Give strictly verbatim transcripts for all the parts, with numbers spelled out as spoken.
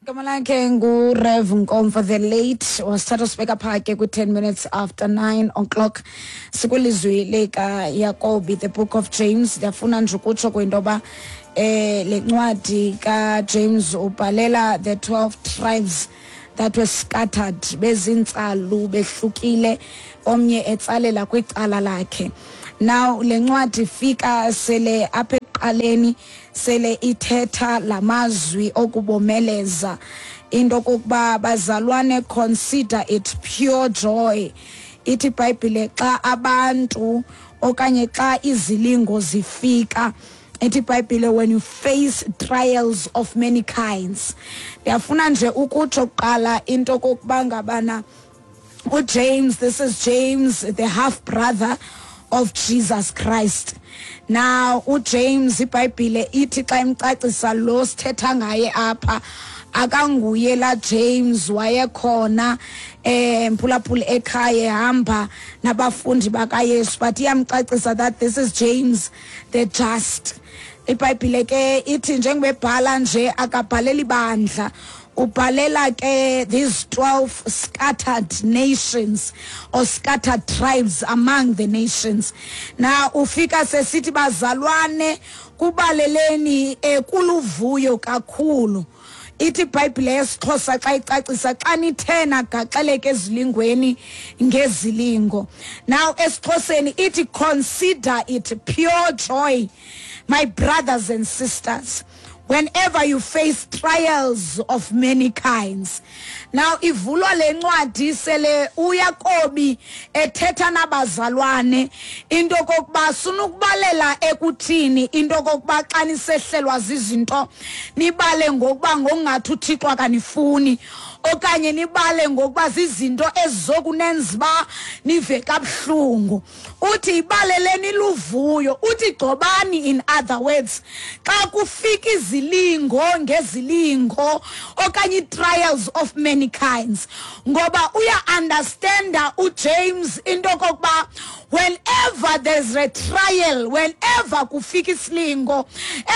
Igama lakhe nguRev Nkomfa the late, wasithatha sibeka phaa ke kwi-ten minutes after nine o'clock. Sikwilizwi likaYakobi, the book of James. Ndiyafuna nje ukutsho kwinto yoba eh le ncwadi kaJames ubhalela the twelve tribes that were scattered, bezintsalu behlukile, omnye etsalela kwicala lakhe. Now le ncwadi ifika sele apha ekuqaleni sele ithetha lamazwi okubomeleza into kokuba bazalwane, consider it pure joy. Ithi iBhayibhile xa abantu okanye xa izilingo zifika, ithi iBhayibhile when you face trials of many kinds. Ndiyafuna nje ukutsho kuqala into kokuba ngabana uJames, this is James, the half brother of Jesus Christ. Now uJames, iBhayibhile ithi xa imcacisa lo sithetha ngaye apha, akanguye la James wayekhona eh mphulaphula ekhaya ehamba nabafundi bakaYesu, but iyamcacisa that this is James the Just. IBhayibhile ke ithi njengoba ebhala nje akabhaleli bandla, ubhalela ke these twelve scattered nations or scattered tribes among the nations. Now ufika sesithi bazalwane, kubaleleni eh, kuluvuyo kakhulu. Ithi iBhayibhile yesiXhosa xa icacisa, xa nithe nagaxeleka ezilingweni ngezilingo. Now esiXhoseni ithi consider it pure joy, my brothers and sisters, whenever you face trials of many kinds. Now ivulwa le ncwadi sele uYakobi ethetha nabazalwane into kokuba sunukubalela ekuthini into kokuba xa nisehlelwa zizinto nibale ngokuba ngokungathi uThixo akanifuni, okanye nibale ngokuba zizinto ezizokunenza uba nive kabuhlungu. Uthi ibaleleni luvuyo, uthi gcobani, in other words, xa kufika izilingo ngezilingo okanye trials of many kinds. Ngoba uya-understanda uJames into kokuba whenever there's a trial, whenever kufika isilingo,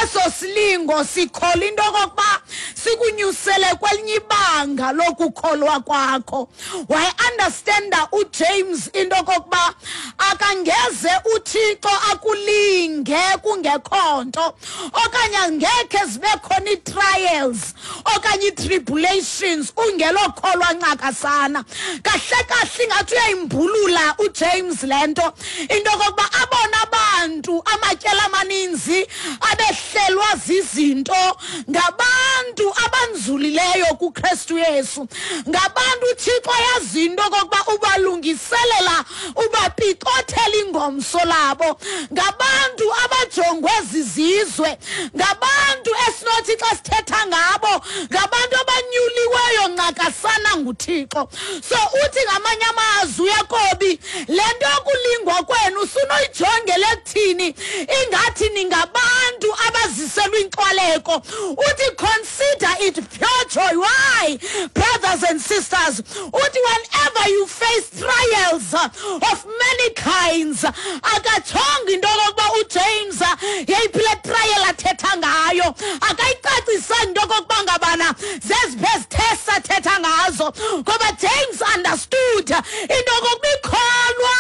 eso silingo sikhola into kokuba sikunyusele kwelinye ibanga lokukholwa kwakho. Waye-understanda uJames into kokuba akangeze uThixo akulinge kungekho nto, okanye angekhe zibe khona ii-trials okanye ii-tribulations ungelokholwa ncakasana. Kahle kahle ingathi uyayimbulula uJames le nto, into kokuba abona abantu amatyela amaninzi abehlelwa zizinto ngabantu abanzulileyo kuKristu Yesu, ngabantu uThixo ayazi into kokuba ubalungiselela, ubapicothela ingomso labo, ngabantu abajongwe zizizwe, ngabantu esinothi xa sithetha ngabo ngabantu abanyuliweyo ncakasana nguThixo. So uthi ngamanye amazwi uYakobi, le nto yokulingwa kwenu sunoyijongela ekuthini ingathi ningabantu abaziselwa inxwaleko. Uthi consider it pure joy. Why, brothers and sisters? Uthi whenever you face trials of many kinds, akatshongo into yokokuba uJames yeyiphi le trial athetha ngayo, akayicacisanga into yokokuba ngabana zeziphi ezithesa athetha ngazo, ngoba James understood into yokokuba ikholwa,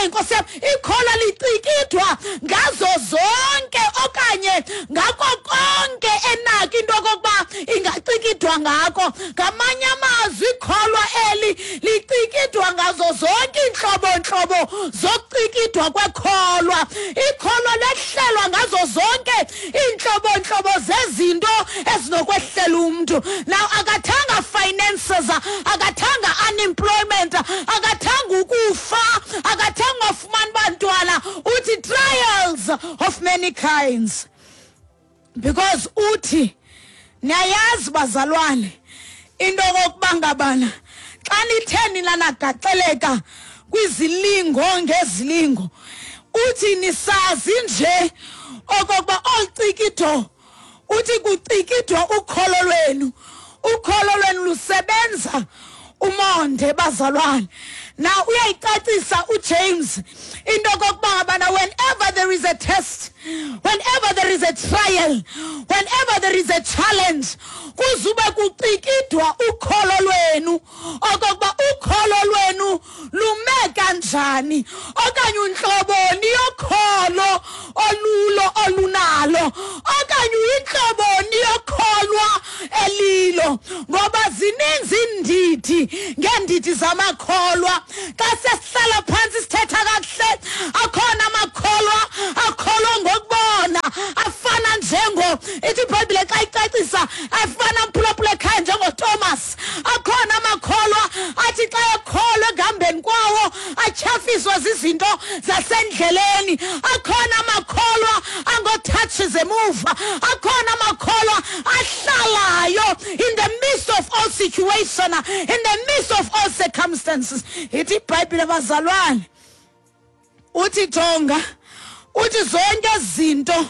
nkosi yam, ikholwa licikidwa ngazo zonke okanye ngako konke enako into yokokuba ingacikidwa ngako. Ngamanye amazwi ikholwa eli licikidwa ngazo zonke iintlobo-ntlobo zokucikidwa kwekholwa. Ikholwa lehlelwa ngazo zonke iintlobo-ntlobo zezinto ezinokwehlela umntu. Now akathanga finances, akathanga unemployment, akathanga ukufa, akathanga ufumana bantwana. Uthi trials of many kinds, because uthi niyayazi bazalwane into kokuba ngabana xa nithe nina nagaxeleka kwizilingo ngezilingo, uthi nisazi nje okokuba olucikido, uthi kucikidwa ukholo lwenu, ukholo lwenu lusebenza umonde bazalwane. Now uyayicacisa uJames into kokuba ngabana whenever there is a test, whenever there is a trial, whenever there is a challenge, kuzube kucikidwa ukholo lwenu okokuba ukholo lwenu lume kanjani, okanye unhloboni yokholo olulo olunalo, okanye inhloboni yokholwa elilo, ngoba zininzi indidi ngendidi zamakholwa. Xa sesihlala phansi sithetha kakuhle, akhona amakholwa akholwa ngokubona, afana njengo ithi iBhayibhile xa icacisa, afana mphulaphula ekhaya njengoThomas. Akhona amakholwa athi xa ekholwa ekuhambeni kwawo atyhafiswa zizinto zasendleleni. Akhona amakholwa angotouches emuva. Akhona amakholwa ahlalayo in the midst of all situation, in the midst of all circumstances. Ithi iBhayibhile bazalwane, uthi jonga, uthi zonke izinto,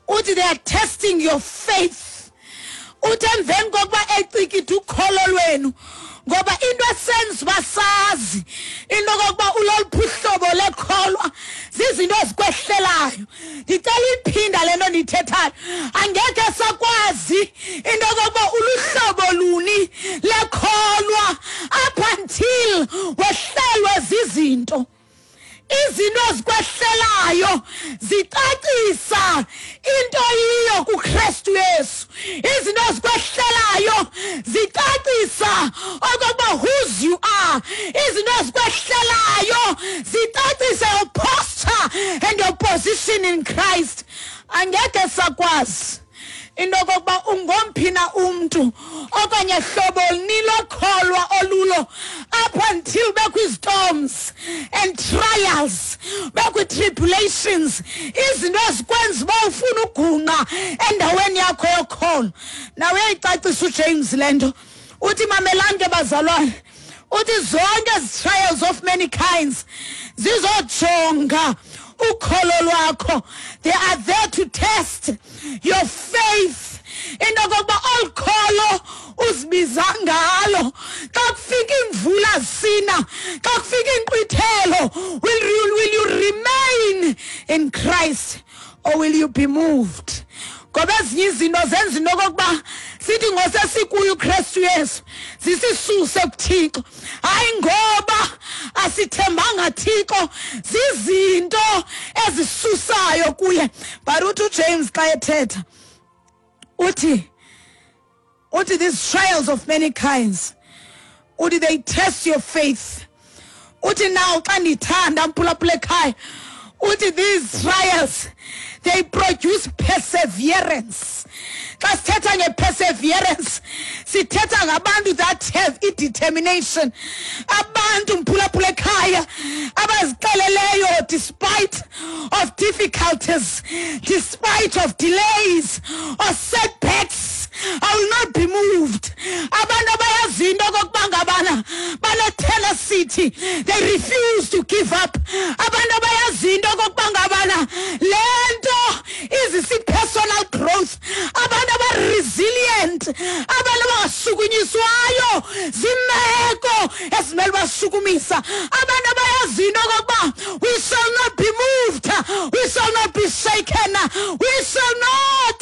uthi they are testing your faith. Uthi emveni kokuba ecikide ukholo lwenu, ngoba into esenza uba sazi into kokuba uloluphi uhlobo lekholwa zizinto ezikwehlelayo. Ndicela uyiphinda le nto ndiyithethayo, angekhe sakwazi into kokuba uluhlobo luni lekholwa up until wehlelwe zizinto. Izinto ezikwehlelayo zicacisa into yiyo kuKristu Yesu. Izinto ezikwehlelayo zicacisa okokuba whose you are. Izinto ezikwehlelayo zicacisa your posture and your position in Christ. Angeke sakwazi into okokuba ungomphi na umntu okanye hlobo nilokholwa olulo up until bekwi-storms and trials, bekwi-tribulations, izinto ezikwenza uba ufuna ugunqa endaweni yakho yokholo. Nawe uyayicacisa uJames le nto, uthi mamelani ke bazalwane, uthi zonke ezi trials of many kinds zizojonga ukholo lwakho. They are there to test your faith. Into kokuba olu kholo uzibiza ngalo, xa kufika imvula zisina, xa kufika inkqwithelo, will you, will you remain in Christ or will you be moved? Ngoba ezinye izinto zenza into okokuba sithi ngosesikuyo uKristu Yesu zisisuse kuThixo. Hayi ngoba asithembanga Thixo, zizinto ezisusayo kuye. But uthi uJames xa ethetha uthi uthi these trials of many kinds, uthi they test your faith. Uthi now xa ndithanda mphulaphula ekhaya, uthi these trials they produce perseverance. Xa sithetha nge-perseverance, sithetha ngabantu that have i-determination, abantu mphulaphula ekhaya abazixeleleyo despite of difficulties, despite of delays or setbacks, I will not be moved. Abantu abayaziyo into okokuba ngabana bane-tenacity, they refuse to give up. Abantu abayaziyo into okokuba ngabana le nto izisa i-personal growth, abantu aba-resilient, abantu abangasukunyiswayo zimeko ezimele bashukumisa, abantu abayaziyo into okokuba we shall not be moved, we shall not be shaken, we shall not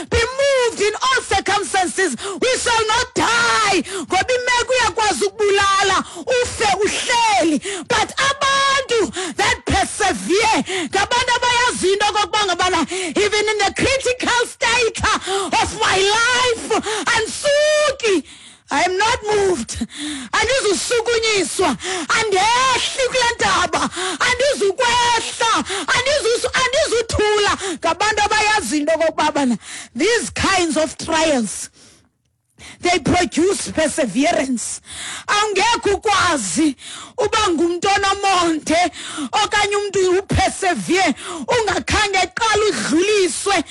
be moved in all circumstances, we shall not die. Ngoba imeko iyakwazi ukubulala ufe uhleli, but abantu that persevere ngabantu abayaziyo into okokuba ngabana even in the critical state of my life andisuki, I am not moved, andizusukunyiswa, andehli kule ndaba, andizukwehla, andizuthula. Ngabantu abayaziyo into okokuba bana these kinds of trials they produce perseverance. Angekho ukwazi uba ngumntu onomonde okanye umntu upersevere ungakhange eqala udluliswe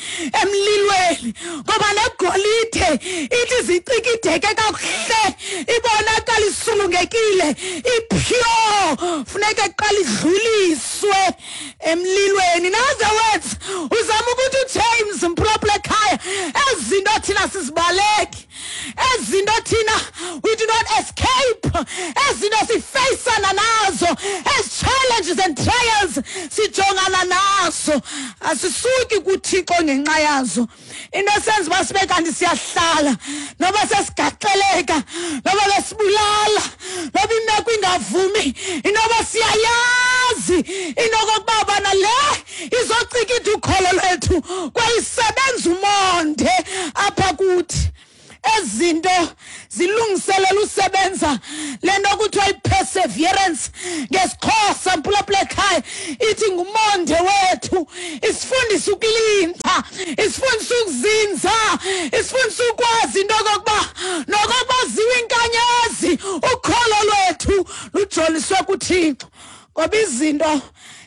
emlilweni, ngoba negolide ithi zicikideke kakuhle ibonakala isulungekile ipure, funeka eqala idluliswe emlilweni. In other words, uzama ukuthi uJames mphulaphula ekhaya, ezi zinto Ezinto thina sizibaleki, ezinto thina we do not escape, ezinto sifeyisana nazo, ezi challenges and trials sijongana nazo, asisuki kuThixo ngenxa yazo. Into esenza uba sibe kanti siyahlala noba sesigaxeleka noba besibulala noba imeko ingavumi, inoba siyayazi into okokuba bana le izocikida ukholo lwethu kwayisebenza umonde apha kuthi. Ezinto zilungiselela usebenza le nto kuthiwa i-perseverance ngesiXhosa, mphulaphula ekhaya, ithi ngumonde wethu. Isifundisa ukulinda, isifundisa ukuzinza, isifundisa ukwazi into okokuba nokokuba ziwe inkanyezi, ukholo lwethu lujoliswe kuThixo. Ngoba izinto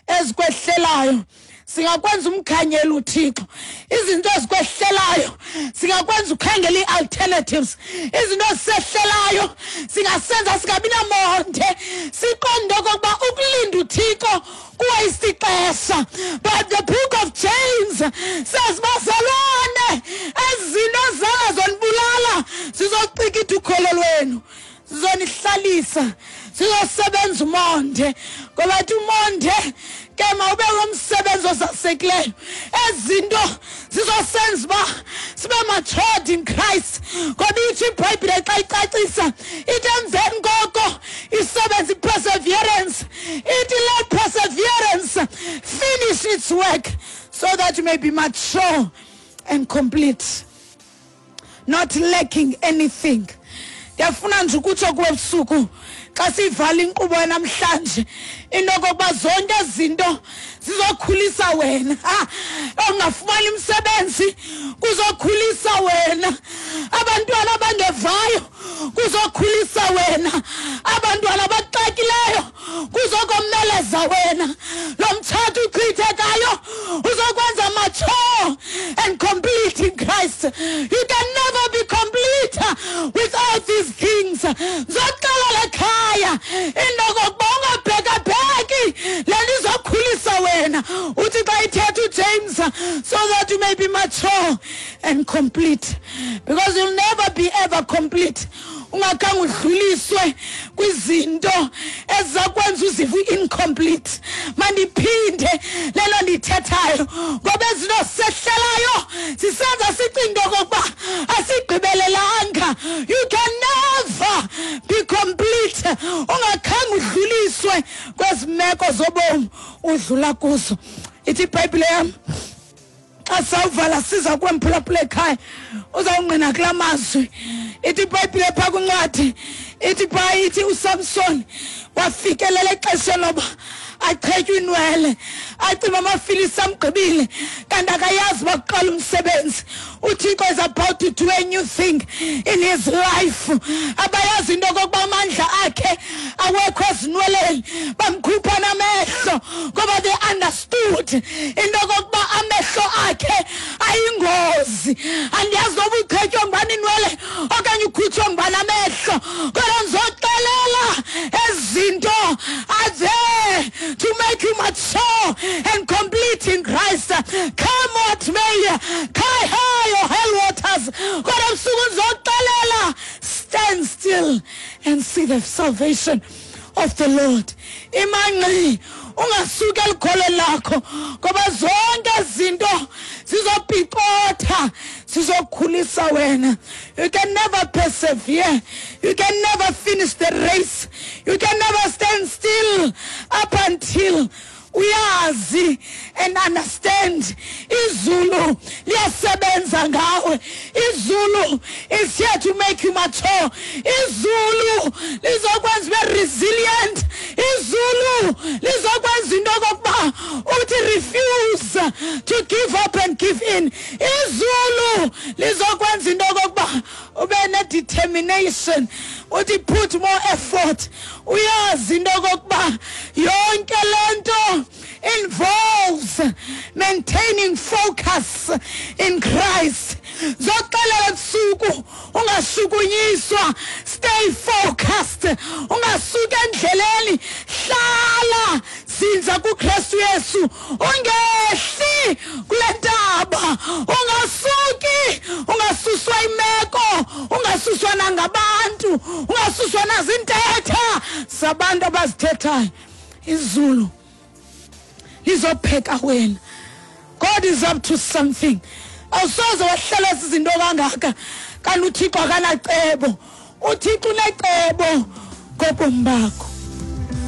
ezikwehlelayo singakwenza umkhanyelo uThixo, izinto ezikwehlelayo singakwenza ukhangela ii-alternatives, izinto ezisehlelayo singasenza singabi namonde, siqonde okokuba ukulinda uThixo kuwayista ixesha. But the book of James says, bazalwane, ezinto zangazonibulala zizocikida ukholo lwenu, zizonihlalisa, sizosebenza umonde. Ngoba thi umonde ke mawube ngumsebenzi ozasekileyo. Ezinto zizosenza uba sibe matured in Christ. Ngoba ithi iBhayibhile xa icacisa ithi emveni koko isebenza i-perseverance, ithi let perseverance finish its work so that you may be mature and complete, not lacking anything. Ndiyafuna nje ukutsho kuwe ebusuku xa siyivala inkqubo namhlanje into okokuba zonke izinto zizokhulisa wena. Ongafumani umsebenzi kuzokhulisa wena, abantwana abangevayo kuzokhulisa wena, abantwana abaxakileyo kuzokomeleza wena, lo mtshato uchithekayo uzokwenza mature and complete in Christ. You can never be complete without these things. Zoxelela ekhaya into okokuba ungabhekabheki le nto izokhulisa wena. Uthi xa ithetha uJames, so that you may be mature and complete, because you'll never be ever complete ungakhange udluliswe kwizinto ezizakwenza uzive incomplete. Mandiphinde lelo ndithethayo, ngoba ezinto sisehlelayo sisenza sicinge okokuba asigqibelelanga. You can never be complete ungakhange udluliswe kwezi meko zobomi udlula kuzo. Ithi iBhayibhile yam xa sawuvala siza kwemphulaphula ekhaya uzawungqina kulaa mazwi. Ithi iBhayibhile phaa kwincwadi ithi phaa ithi uSamson wafikelela exesheni loba achetywe inwele, acima amaFilisti amgqibile, kanti akayazi uba kuqala umsebenzi. uThixo is about to do a new thing in his life. Abayazi into okokuba amandla akhe awekho ezinweleni, bamkhupha namehlo ngoba they understood into okokuba amehlo akhe ayingozi. Andiyazi noba uchetywe ngubani inwele okanye ukhutshwe ngubani amehlo, kodwa ndizoxelela ezinto are there to make you mature and complete in Christ. Come what may, cry high or hell waters, kodwa ebusuku ndizoxelela, stand still and see the salvation of the Lord. Imanqi ungasuki elikholweni lakho, ngoba zonke izinto zizopicotha, zizokhulisa wena. You can never persevere, you can never finish the race, you can never stand still up until uyazi and understand izulu liyasebenza ngawe. Izulu is here to make you mature. Izulu lizokwenza ube resilient. Izulu lizokwenza into okokuba uthi refuse to give up and give in. Izulu lizokwenza into okokuba ube ne-determination, uthi put more effort. Uyazi into okokuba yonke le nto involves maintaining focus in Christ. Zoxelela ebusuku ungashukunyiswa, stay focused, ungasuki endleleni, hlala zinza kuKristu Yesu, ungehli kule ntaba, ungasuki, ungasuswa Ungasuswa nangabantu, ungasuswa nazintetha zabantu abazithethayo. Izulu lizopheka wena. God is up to something. Awusoze wahlelwa izinto kangaka kanti uThixo akanacebo. UThixo unecebo ngobomi bakho.